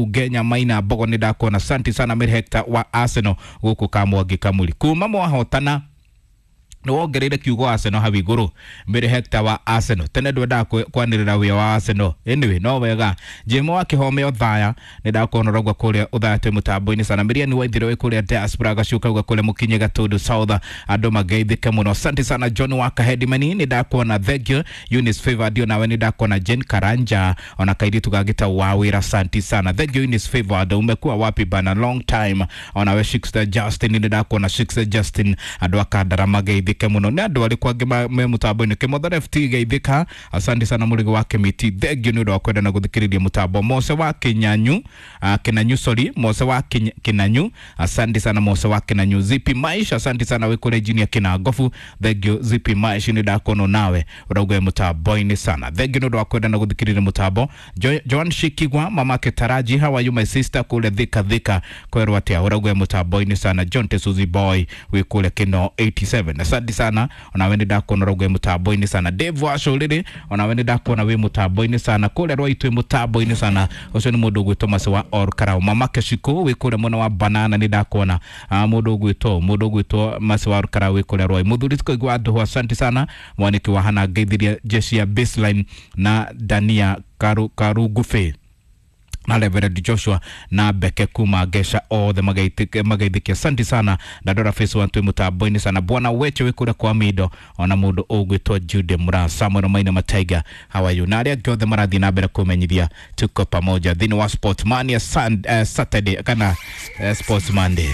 Ugenya Maina Mbogo nĩ ndakuona, asante sana Mary Hector wa Arsenal gũkũ Kamwangi Kamuri kuma mwahotana nĩ wongereire kiugo Arsenal hau igũrũ. Mary Hector wa Arsenal tene ndwendaga kwanĩrĩra wĩa wa Arsenal, anyway no wega. Jemo wa Kĩhome Othaya nĩ ndakuona ũraigua kũrĩa Othaya twĩ mũtambo-inĩ sana. Miriam Waithira wĩ kũrĩa diaspora gacuka uga kũrĩa mũkinye Gatundu South andũ mageithĩke mũno, asante sana. John wa Kahedimani nĩ ndakuona, thank you. Eunice Favor ndio nawe nĩ ndakuona. Jane Karanja ona kairitu gagĩta wa wĩra, asante sana, thank you. Eunice Favor, umekuwa wapi bana, long time. Ona we Shikster Justin nĩ ndakuona, Shikster Justin andũ akandara mageithĩke mũno. Nĩ andũ arĩkũ angĩ me mũtambo-inĩ? Kĩmotho FT geithĩka, asante sana. Mũrĩgo wa Kĩmiti, thank you nĩ ũndũ wa kwenda na gũthikĩrĩria mũtambo. Mose wa Kĩnyanyu, Kĩnanyu, sorry, Mose wa Kĩnanyu, asante sana Mose wa Kĩnanyu. Zipi Maisha, asante sana wĩ kũrĩa Junior Kĩnangobu, thank you Zipi Maisha, nĩ ndakuona nawe ũrauga wĩ mũtambo-inĩ sana, thank you nĩ ũndũ wa kwenda na gũthikĩrĩria mũtambo. Joan Shikigwa, mamake Taraji, how are you my sister, kũrĩa Thika Thika kwerwo atĩa, ũrauga wĩ mũtambo-inĩ sana. John Tesuzi Boy wĩ kũrĩa Kĩno 87, asante sana, onawe nĩ ndakuona ũrauga wĩ mũtambo-inĩ sana. Dave wa Cũrĩrĩ, onawe nĩ ndakuona wĩ mũtambo-inĩ sana kũrĩa Rwaitũ wĩ mũtambo-inĩ sana. Ũcio nĩ mũndũ ũgwĩtwo Mase wa Or Karau. Mamake Shiko wĩ kũrĩa mwena wa Banana nĩ ndakuona, mũndũ ũgwĩtwo Mase wa Or Karau wĩ kũrĩa Rwai. Mũthuri tũkaigua andũ, asante sana. Mwaniki wa Hana ngeithirie jeshi ya baseline na Dania Karungubi na Reverend Joshua na Beke kuma Gesha othe magaithikia, asante sana. Ndandora face one twĩ mũtambo-inĩ sana. Bwana Weche wĩ kũrĩa kwa Mindo, ona mũndũ ũgwĩtwo Jude Mura Samuel Maina Mataiga, how are you, na arĩa angĩ othe marathiĩ na mbere kũmenyithia tuko pamoja thĩinĩ wa Sport Mania Saturday kana Sports Monday.